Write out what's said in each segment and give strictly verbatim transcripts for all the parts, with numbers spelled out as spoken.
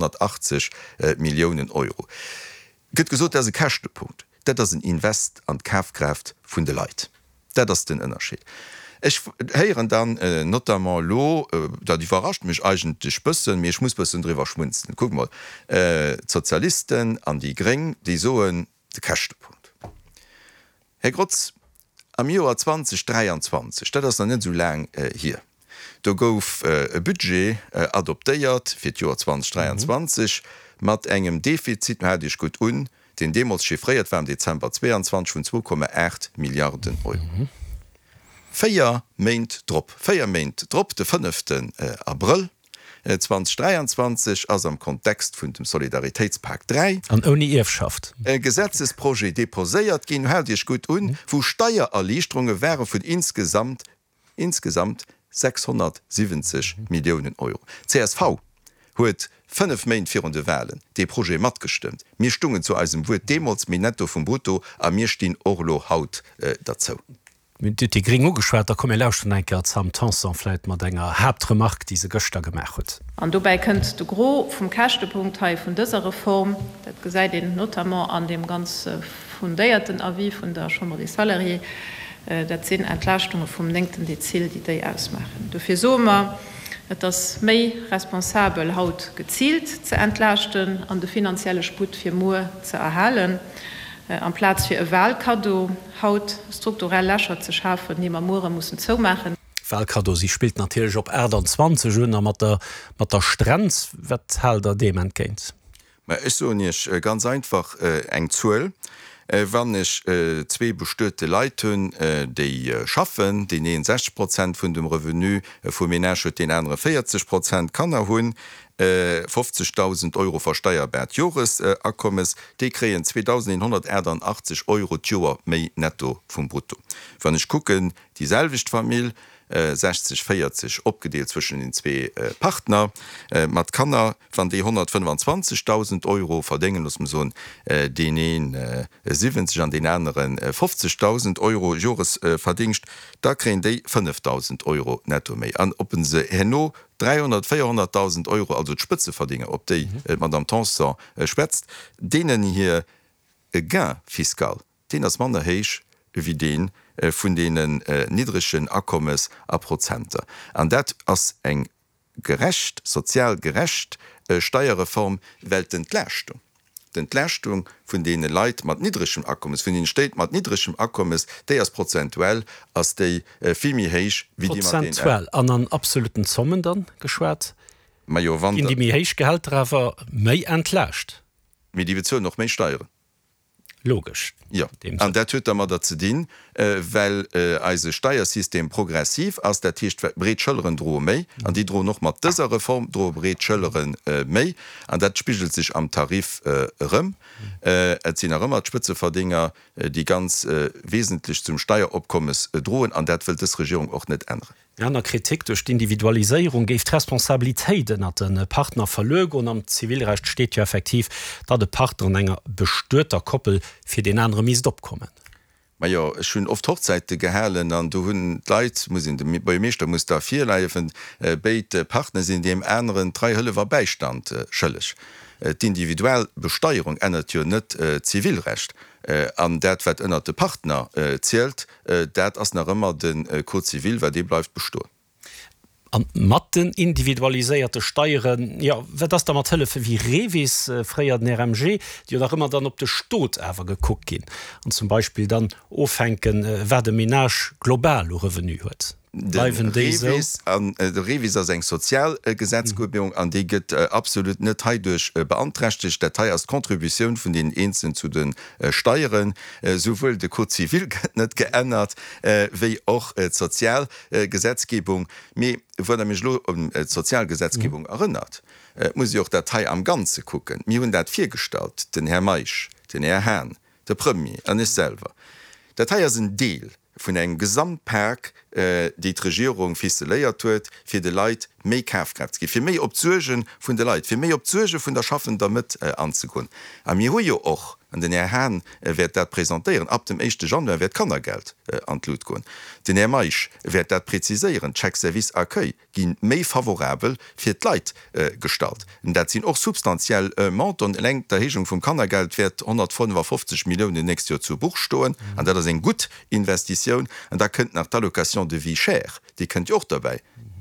zweehonnertachtzeg Milliounen Euro. Gëtt gesot, dat ass e Käschtepunkt. Dat ass en Invest an d'Kafkraaft vun de Leit. Dat ass den Ënnerscheed. Ech héieren dann notamment elo, dat iwwerrascht mech eigentlech bëssen, mee ech muss bëssen driwwer schmunzelen, kuck mol, d'Sozialisten an déi Gréng, déi soen, de Käschtepunkt. Här Grotz, am Joer zwanzeg dräianzwanzeg, dat ass nach net esou laang hier, do gouf e Budget adoptéiert fir d'Joer zwanzeg dräianzwanzeg mat engem Defizit, haalt Iech gutt un, deen deemools chiffréiert war am Dezember zweianzwanzeg vun zwou Komma aacht Milliarden Euro. Véier Méint drop, véier Méint drop, de fënneften Abrëll zwanzeg dräianzwanzeg, ass am Kontext vun dem Solidaritéitspak dräi, An ouni Ierfschaft. e Gesetzesprojet deposéiert ginn, haalt Iech gutt un, wou Steiererliichterunge ware vun insgesamt, insgesamt sechshonnertsiwwenzeg Milliounen Euro. Csv huet fënnef Méint virun de Wahlen dee Projet matgestëmmt. Mir stungen zu eisem Wuert deemools, méi Netto vum Brutto, a mir stinn och elo haut derzou. Dir hutt déi Gréng ugeschwat, da komm mir lauschteren eng Kéier d'Sam Tanson vläit mat enger Haaptremark, déi se gëschter gemaach huet. An dobäi kënnt de Gros vum Käschtepunkt hei vun dëser Reform, dat gesäit een notamment an deem ganz fundéierten Avis vun der Chambre des Salariés, dat sinn Entlaaschtunge vum néngten Dezil, déi déi ausmaachen. Dofir soe mer, et ass méi responsabel haut geziilt ze entlaaschten an de finanzielle Sputt fir muer ze erhalen, amplaz fir e Wahlkaddo haut strukturell Lächer ze schafen, déi mer muere mussen zoumaachen. Wahlkaddo, si spillt natierlech op aachtanzwanzeg un a mat der mat der Strenz. Wat haalt Der deem entgéint? Mä ech soen Iech ganz einfach eng Zuel, Wann ech zwee bestuete Leit hunn, déi schaffen, deen een sechzeg Prozent vun dem Revenu vum Ménage huet, deen anere véierzeg Prozent, Kanner hunn, fofzegdausend Euro versteierbaart Joresakommes, déi kréien zweedausendeenhonnertachtanachteg Euro d'Joer méi netto vum Brutto. Wann ech kucken, déi selwecht Famill, sechzeg, véierzeg opgedeelt zwëschen den zwee Partner mat Kanner, wann déi honnertfënnefanzwanzegdausend Euro verdéngen, loosse mer soen, deen ee siwwenzeg an deen anere fofzegdausend Euro Joresverdingscht, da kréien déi fënnefdausend Euro netto méi. An ob se herno dräihonnert, véierhonnertdausend Euro, also d'Spëtzeverdénger, op déi d'Madame Tanson schwätzt, deenen hir Gain fiscal, deen ass manner héich wéi dee vun deenen niddregen Akommes a Prozenter. An dat ass eng gerecht, sozial gerecht Steierreform, well d'Entlaaschtung, d'Entlaaschtung vun deene Leit mat niddregem Akommes, vun deene Stéit mat niddregem Akommes, déi ass prozentuell ass déi vill méi héich wéi déi mat deenen. Prozentuell an an absoluten Zommen dann geschwat, Majo, wann ginn déi méi héich Gehälter awer méi entlaascht. Mee déi bezuelen och méi Steieren. Logesch. Jo, an dat huet dermadder ze dinn, well eise Steiersystem progressiv ass. Dat heescht, breet Schëlleren droe méi, an déi droen och mat dëser Reform droe breet Schëllere méi. An dat spigelt sech am Tarif erëm. Et sinn nach ëmmer d'Spëtzeverdinger, déi ganz wesentlech zum Steieropkommes droen, an dat wëllt dës Regierung och net änneren. Eng aner Kritik, Duerch d'Individualiséierung géif d'Responsabilitéit ënnert de Partner verluer goen. Am Zivilrecht steet jo effektiv, datt e Partner an enger bestueter Koppel fir deen anere misst opkommen. Majo, ech hunn oft Hochzäite gehalen an do hunn d'Leit, muss een, de Buergermeeschter muss da virleiefen, béid Partner sinn deem aneren Trei, Hëllef a Bäistand schëlleg. D'Individualbesteierung ännert jo net d'Zivilrecht. An dat, wat ënnert de Partner zielt, dat ass nach ëmmer de Code civil, well dee bleift bestoen. A mat den individualiséierte Steieren, jo, wat ass da mat Hëllefe wéi REVIS, fréier den R M G, déi jo nach ëmmer dann op de Stot awer gekuckt ginn an zum Beispill dann ofhänken, wat e Menage global u Revenu huet? De REVIS an de REVIS ass eng sozial Gesetzgebung an déi gëtt absolut net heiduerch beanträchtegt. Dat hei ass d'Contributioun vun deenen Eenzelen zu de Steieren. Souwuel de Code civil gëtt net geännert wéi och d'sozial Gesetzgebung. Mee wann Der mech elo un d'sozial Gesetzgebung erënnert, muss ee och dat hei am Ganze kucken. Mir hunn dat virgestallt, den Här Meisch, den Här Hahn, de Premier an ech selwer. Dat hei ass en Deel vun engem Gesamtpak, déi d'Regierung ficeléiert huet, fir de Leit méi Kafkraaft ze ginn, fir méi op d'Suerge vun de Leit, fir méi op d'Suerge vun der schaffender Mëtt anzegoen. A mir hu jo och an den Här Hahn wäert dat presentéieren, ab dem éischte Januar wäert d'Kannergeld an d'Lut goen. Den Här Meisch wäert dat preziséieren, d'Chèques-service accueil gi méi favorabel fir d'Leit gestallt. Dat sinn och substantiell Montanten. Eleng d'Erhéijung vum Kannergeld wäert honnertfënnefafofzeg Milliounen d'nächst Joer zu Buch stoen, an dat ass eng gutt Investitioun. An da kënnt nach d'Allocation de vie chère, déi kënnt jo och derbäi.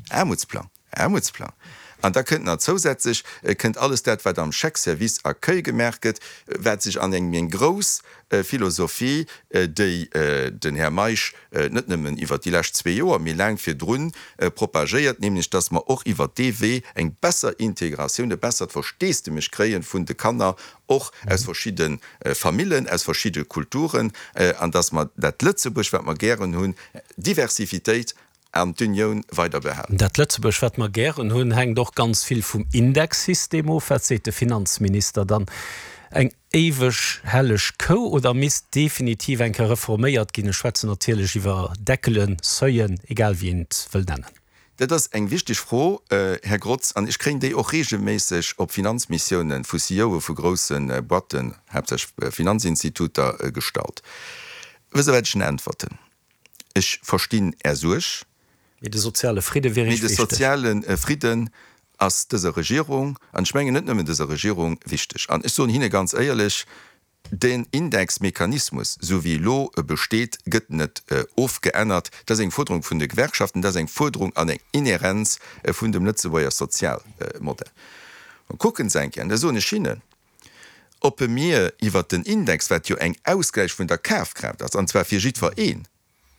Aarmutsplang, Aarmutsplang. An da kënnt nach zousätzlech kënnt alles dat, wat am Chèque-service accueil gemaach gëtt, wat sech an eng eng grouss Philosophie, déi den Här Meisch net nëmmen iwwert déi lescht zwee Joer, mee laang virdrun propagéiert, nämlech dass mer och iwwert dee Wee eng besser Integratioun, e bessert Versteesdemech kréie vun de Kanner, och aus verschidde Famillen, aus verschidde Kulturen, an dass mer dat Lëtzebuerg, wat mer gären hunn, Diversifitéit an d'Unioun weider behalen. Dat Lëtzebuerg, wat mer gären hunn, hänkt och ganz vill vum Indexsystem of. Wat seet de Finanzminister dann? Eng éiweg helleg Kou oder misst definitiv eng Kéier reforméiert ginn? Ech schwätzen natierlech iwwer Deckelen, Seuilen, egal wéi een et wëll nennen. Dat ass eng wichteg Fro, Här Grotz, an ech kréien déi och reegelméisseg op Finanzmissiounen vu C E Oe vu grousse Boîten, haaptsächlech Finanzinstituter, gestallt. Wësst Der, wat ech hinnen äntwerten? Ech verstinn Är Suerg. Mee de soziale Fridde wier Mee Iech de wichteg. soziale Fridden ass dëser Regierung, an ech mengen net nëmmen dëser Regierung, wichteg. An ech soen hinne ganz éierlech, Den Indexmechanismus, esou wéi elo e besteet, gëtt net ofgeännert. Dat ass eng Fuerderung vun de Gewerkschaften, dat ass eng Fuerderung an eng Inhärenz vun dem Lëtzebuerger Sozialmodell. Mä kucken se eng Kéier, an da soen ech hinnen, ob mir iwwert den Index, wat jo eng Ausgläich vun der Kafkraaft ass, an zwar fir jiddwer een,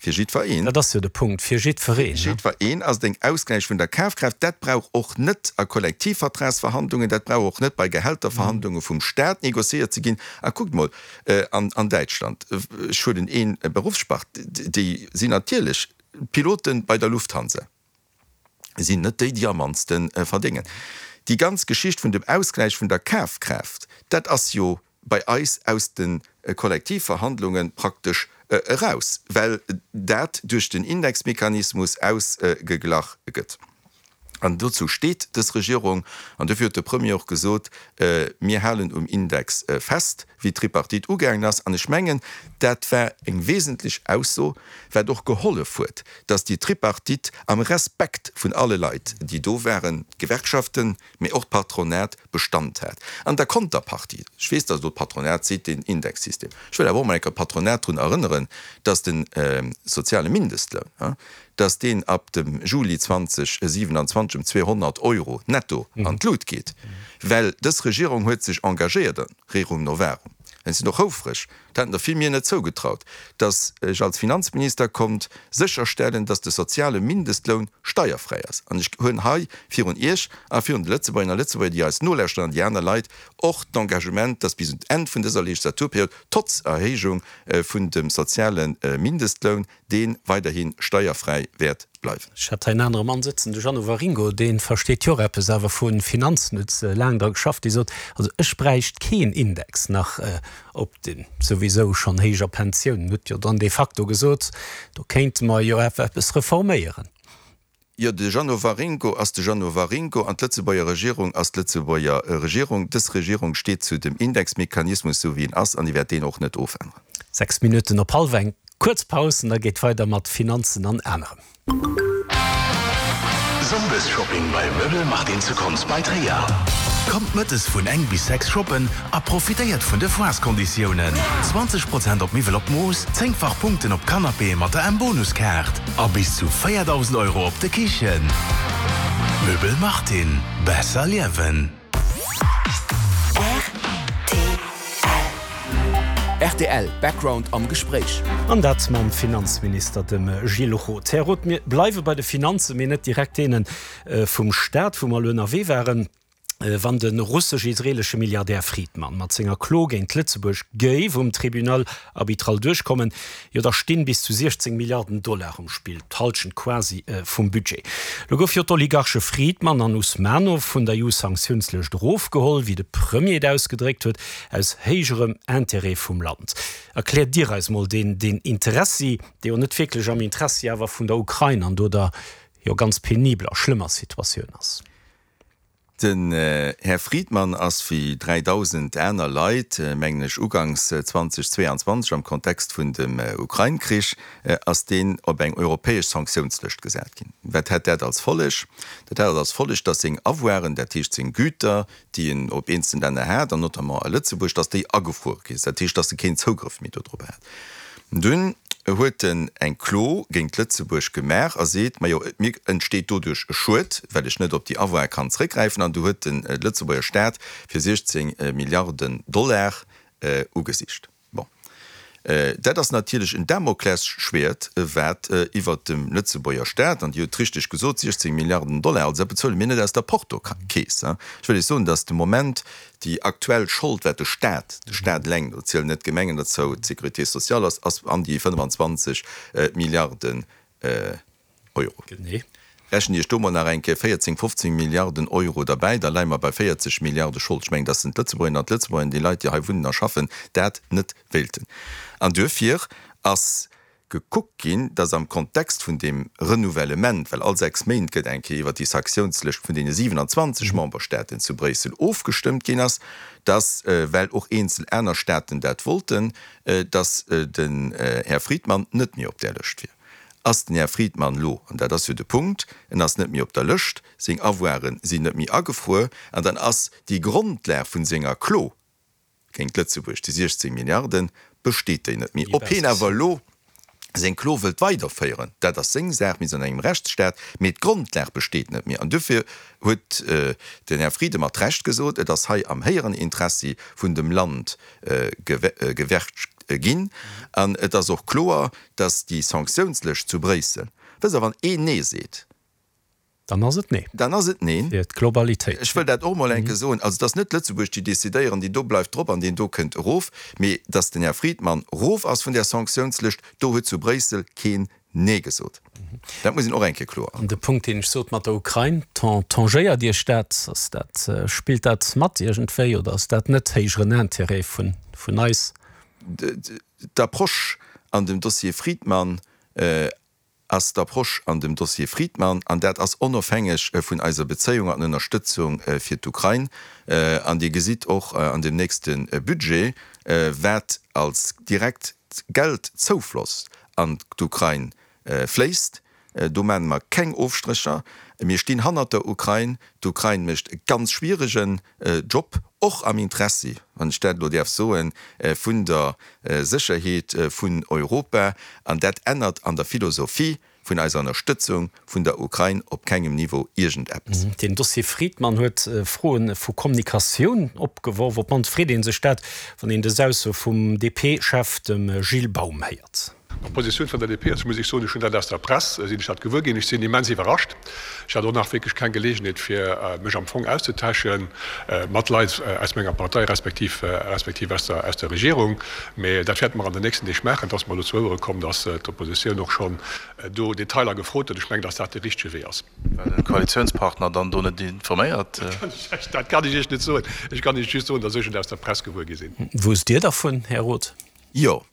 fir jiddwer een. Dat ass jo de Punkt, fir jiddwereen. Fir jiddwer een ass et eng Ausgläich vun der Kafkraaft. Dat brauch och net a Kollektivvertragsverhandlungen, dat brauch och net bei Gehälterverhandlunge vum Stat négociéiert ze ginn. A kuckt mol an Däitschland, ech huelen ee Beruffsspart, déi sinn natierlech d'Pilote bei der Lufthansa sinn net déi, déi am mannste verdéngen. Déi ganz Geschicht vun dem Ausgläich vun der Kafkraaft, dat ass jo bei eis aus de Kollektivverhandlunge praktesch eraus, well dat duerch den Indexmechanismus ausgeglach gëtt. An dozou steet dës Regierung. An dofir huet de Premier och gesot, Mir halen um Index fest, wéi d'Tripartite ugaangen ass. An ech mengen, dat war eng wesentlech Ausso, wat och gehollef huet, datt déi Tripartite am Respekt vun alle Leit, déi do waren, d'Gewerkschaften, mee och d'Patronat, Bestand hat. An der Konterpartie, ech weess, datt elo d'Patronat seet, deen Indexsystem, ech wëll awer och mol eng Kéier d'Patronat drun erënneren, datt de soziale Mindestloun, datt deen ab dem Juli zwanzeg siewenundzwanzeg ëm zweehonnert Euro netto an d'Lut geet, well dës Regierung huet sech engagéiert, rerum novarum, ech sinn och houfreg, dat hätten der vill mir net zougetraut, datt ech als Finanzminister konnt sécherstellen, datt de soziale Mindestloun steierfräi ass. An ech huelen hei virun Iech a virun de Lëtzebuergerinnen a Lëtzebuerger, déi eis nolauschteren, an déi aner Leit och d'Engagement, datt bis un d'Enn vun dëser Legislaturperiod, trotz Erhéijung vun dem soziale Mindestloun, dee weiderhi steierfräi wäert bleiwen. Ech hat hei en anere Mann sëtzen, de Jeannot Waringo, dee versteet jo och eppes awer vu Finanzen, huet laang dra geschafft, dee sot, also ech bräicht keen Index nach op de souwisou schonn héijer Pensiounen. Huet jo dann de facto gesot, do kéinte mer jo awer eppes reforméieren. Jo, de Jeannot Waringo ass de Jeannot Waringo an d'Lëtzebuerger Regierung ass d'Lëtzebuerger Regierung. Dës Regierung steet zu dem Indexmechanismus, esou wéi en ass, an déi wäert deen och net ofänneren. Sechs Minutten op hallef eng. Kuerz Paus an da geet weider mat Finanzen an anerem. Sonndesshopping bei Möbel Martin zu Konz bei Tréier. Kommt mëttes vun eng bis sechs shoppen a profitéiert vun de Foireskonditiounen, zwanzeg Prozent op Miwwel op Mooss, zéngfach Punkten op Canapéë mat der M-Bonuskaart a bis zu véierdausend Euro op de Kichen. Möbel Martin, besser liewen. Rtl. Rtl, Background am Gespréich. An dat mam Finanzminister, dem Gilles Roth. Här Roth, mir bleiwe bei de Finanzen, mee net direkt deene vum Staat, wou mer elo ënnerwee waren. Wann de russesch-israelesche Milliardär Fridman mat senger Klo géint Lëtzebuerg géif um Tribunal arbitral duerchkommen, jo da stinn bis zu siechzéng Milliarden Dollar um Spill, d'Hallschent quasi vum Budget. Lo gouf jo d'Oligarche Fridman an Usmanov vun der E U-Sanktiounslëscht erofgeholl, wéi de Premier et ausgedréckt huet, aus héijerem Interêt vum Land. Erkläert Dir eis mol deen deen Interessi, dee jo net wierklech am Interessi awer vun der Ukrain an do der jo ganz penibeler, schlëmmer Situatioun ass. Den Här Friedmann ass wéi dräidausend aner Leit, mengen ech, uganks zweitausendzweiundzwanzeg am Kontext vun dem Ukrain-Krich, ass deen op eng europäesch Sanktiounslëscht gesat ginn. Wat hätt dat als Folleg? Dat hat als Folleg, datt seng Avoiren, dat heescht seng Güter, déi en op eenzelne Länner hat, an notamment a Lëtzebuerg, datt déi agefruer gi sinn. Dat heescht, datt e keen Zougrëff méi dodrop hat. Dunn huet en eng Klo géint Lëtzebuerg gemaach a seet, Majo, mir entsteet doduerch e Schued, well ech net op déi Avoire kann zréckgräifen. An du huet den Lëtzebuerger Staat fir siechzéng Milliarden Dollar ugesicht. Bon, dat ass natierlech en Damoklesschwäert, wat iwwert dem Lëtzebuerger Staat, an Dir hutt richteg gesot, siechzéng Milliarden Dollar, also dat bezuele mir net aus der Portokeess. Ech wëll Iech soen, datt de Moment déi aktuell Schold, wat de Staat, de Staat eleng, do zielen net d'Gemengen derzou, d'Sécurité sociale ass, ass an déi fënnefanzwanzeg Milliarden Euro. Genee. Rechent Iech do mol nach eng Kéier véierzéng, fofzéng Milliarden Euro derbäi, da leie mer bei véierzeg Milliarde Schold. Ech mengen, dass d'Lëtzebuergerinnen an d'Lëtzebuerger, déi Leit, déi hei wunnen a schaffen, dat net wéilten. An duerfir ass gekuckt ginn, dass am Kontext vun deem Renouvellement, well all sechs Méint gëtt eng Kéier iwwert déi Saktiounslëscht vun deene siewenundzwanzeg Memberstaaten zu Bréissel ofgestëmmt ginn ass, dass, well och eenzel aner Staaten dat wollten, dass den Här Friedmann net méi op där Lëscht wier. Ass den Här Friedmann elo, an dat ass jo de Punkt, en ass net méi op der Lëscht, seng Avoiren sinn net méi agefruer, an dann ass déi Grondlag vun senger Klo géint Lëtzebuerg, déi siechzéng Milliarden, besteet déi net méi. Ob hien awer elo seng Klo wëllt weiderféieren, dat ass seng Saach, mir sinn an engem Rechtsstaat, mee d'Grondlag besteet net méi. An duerfir huet den Här Frieden mat Recht gesot, et ass hei am héijeren Interessi vun dem Land gewerkt ginn. An et ass och kloer, datt déi Sanktiounslëscht zu Bréissel, wësst Der, wann een Nee seet, Dann ass et Nee. Dann ass et Neen. Fir d'Globalitéit. Ech wëll dat och emol eng Kéier soen. Also et ass net Lëtzebuerg, déi decidéieren, deen do bleift drop an deen do kënnt erof, mee datt den Här Friedmann erof ass vun där Sanktiounslëscht, do huet zu Bréissel keen Nee gesot. Dat muss een och eng Kéier kloer. An de Punkt, deen ech sot mat der Ukrain, tangéiert Iech dat? Ass dat, spillt dat mat iergendwéi oder ass dat net héijeren Intérêt vun, vun eis? D'Approche an dem Dossier Friedmann ass d'Approche an dem Dossier Friedmann, an dat ass onofhängeg vun eiser Bezéiung an Ënnerstëtzung fir d'Ukrain. An Dir gesitt och an dem nächste Budget, wat als direkt Geldzoufloss an d'Ukrain fléisst. Do maache mer keng Ofstrécher. Mir stinn hannert der Ukrain. D'Ukrain mécht e ganz schwieregen Job, och am Interessi, wann ech dat elo däerf soen, vun der Sécherheet vun Europa. An dat ännert an der Philosophie vun eiser Ënnerstëtzung vun der Ukrain op kengem Niveau iergendeppes. Den Dossier Friedmann huet Froe vu Kommunikatioun opgeworf. Op d'mannst freet ee sech dat, wann een dës Ausso vum D P-Chef, dem Gilles Baum, héiert. D'Positioun vun der D P ass, muss ech soen, ech hunn dat aus der Press, sinn ech dat gewuer ginn. Ech sinn immens iwwerrascht. Ech hat och nach wierklech keng Geleegenheet, fir mech am Fong auszetauschen mat Leit aus menger Partei respektiv respektiv aus der aus der Regierung. Mee dat wäerte mer an den nächsten Deeg maachen. Et ass mer elo zu Ouere komm, datt d'Oppositioun och schonn do Detailer gefrot huet. Ech mengen, datt dat de richtege Wee ass. War de Koalitiounspartner dann do net informéiert? Dat kann ech Iech net soen. Ech kann Iech just soen, datt ech et aus der Press gewuer gi sinn. Wousst Dir dervun, Här Roth? Jo.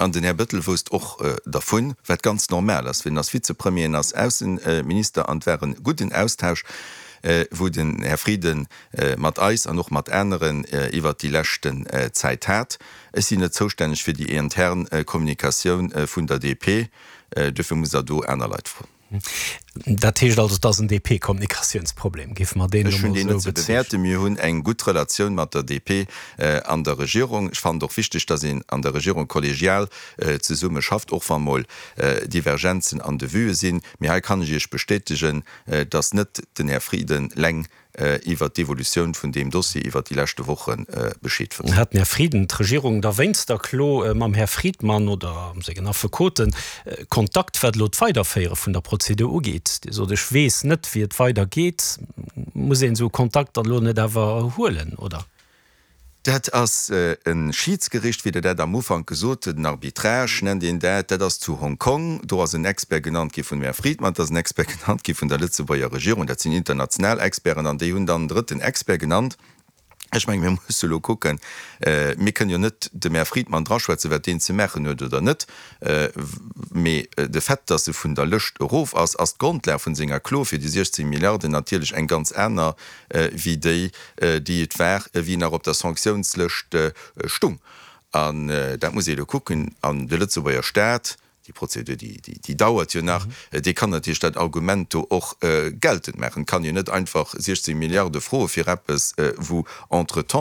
An den Här Bettel wousst och dervun, wat ganz normal ass, well en ass Vizepremier, en ass Ausseminister an et war e gudden Austausch, wou den Här Frieden mat eis an och mat aneren iwwert déi leschten Zäit hat. Ech sinn net zoustänneg fir déi intern Kommunikatioun vun der D P, duerfir musst Der do aner Leit froen. Dat heescht also, et ass en D P-Kommunikatiounsproblem, géife mer deen Ech elo hunn mol deen net esou ze bezeechnen? bewäerten. Mir hunn eng gutt Relatioun mat der D P an der Regierung. Ech fannen et och wichteg, datt een an der Regierung kollegial zesumme schafft, och wa mol Divergenzen an de Vuë sinn. Mee hei kann ech Iech bestätegen, datt net den Här Frieden leng iwwert d'Evolutioun vun deem Dossier iwwert déi leschte Woche Bescheed wësst. Hat den Här Frieden d'Regierung da wéinst der Klo mam Här Friedmann oder sengen Affekoten Kontakt, wat elo d'Weiderféiere vun der Prozedur ugeet? Dir sot, ech weess net, wéi et weidergeet. Muss een esou Kontakt dann elo net awer huelen, oder? Dat ass e Schiidsgericht, wéi Der dat am Ufank gesot hutt, en Arbitrage nennt een dat. Dat ass zu Hongkong. Do ass en Expert genannt gi vun dem Här Friedmann, et ass en Expert genannt gi vun der Lëtzebuerger Regierung. Dat sinn international Experten an déi hunn dann en drëtten Expert genannt, Ech mengen, mir musse elo kucken, mir kënnen jo net dem Här Friedmann draschwätzen, wat deen ze maachen huet oder net, mee de Fait, dass e vun der Lëscht erof ass, ass d'Grondlag vun senger Klo fir déi siechzéng Milliarden natierlech eng ganz aner wéi déi, déi et war, wéi en nach op der Sanktiounslëscht stung. An dat muss ee elo kucken. An de Lëtzebuerger Staat, déi Prozedur, déi dauert jo nach, dee kann natierlech dat Argument do och geltend maachen. Et kann een net einfach siechzéng Milliarde froe fir eppes, wou entretemps,